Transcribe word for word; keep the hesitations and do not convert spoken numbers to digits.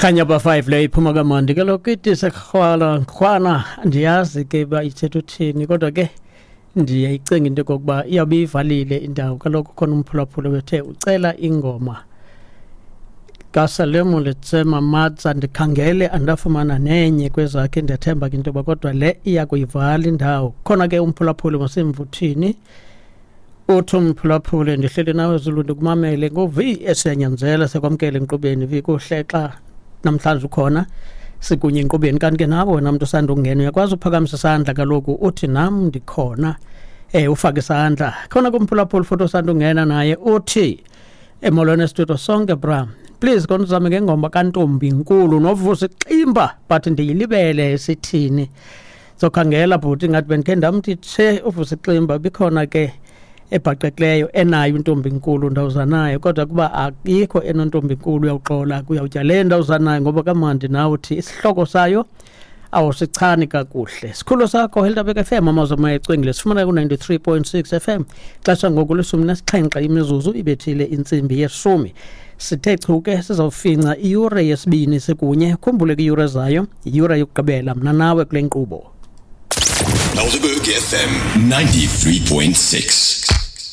Khanya ba five leyo iphuma kamandi. Kaloku ithi sekrhwala nkrhwana, andiyazi ke uba ithetha uthini, kodwa ke ndiyayicinga into yokokuba iyawube ivalile indawo. Kaloku khona umphulaphuli wethe ucela ingoma kaSalemo Letsema Matsa, ndikhangele andafumana nenye kwezakhe. Ndiyathemba ke into yoba kodwa le iya kuyivala indawo. Khona ke umphulaphuli masemvuthini, uthi umphulaphuli, ndihleli nawe Zulu, ndikumamele ngo-V esiyanyanzela, sekwamkele enkqubeni. V, kuhle xa namhlanje ukhona sikunye enkqubeni. Kanti ke nawe wena mntu usandungena uyakwazi uphakamisa isandla, kaloku uthi nam ndikhona, eh ufake isandla khona kumphulaphuli. Futhi osandungena naye uthi, emolweni estudio sonke, bra, please kona uzame ngengoma kaNtombi Nkulu noVusi Ximba, but ndiyilibele sithini. Zokhangela bhuti, ngathi bendikhe ndamthi tshe uVusi Ximba bikhona ke ebhaqekileyo enayo intombi nkulu ndawuzanayo, kodwa kuba akikho enontombi nkulu uyawuxola kuyawutya le ndawuzanayo ngoba kamandi nawe uthi isihloko sayo awusichani kakuhle. Sikhululo sakho Helderberg F M, amazwi amoya ecwengile, sifumana ku-ninety-three point six F M. Xesha ngoku lishumi nesixhenxe imizuzu ibethile intsimbi yeshumi. Sithe chu ke sizawufinca iyure yesibini sikunye. Khumbule ke iyure zayo, iyure yokugqibela mna nawe kule nkqubo. Helderberg F M ninety-three point six.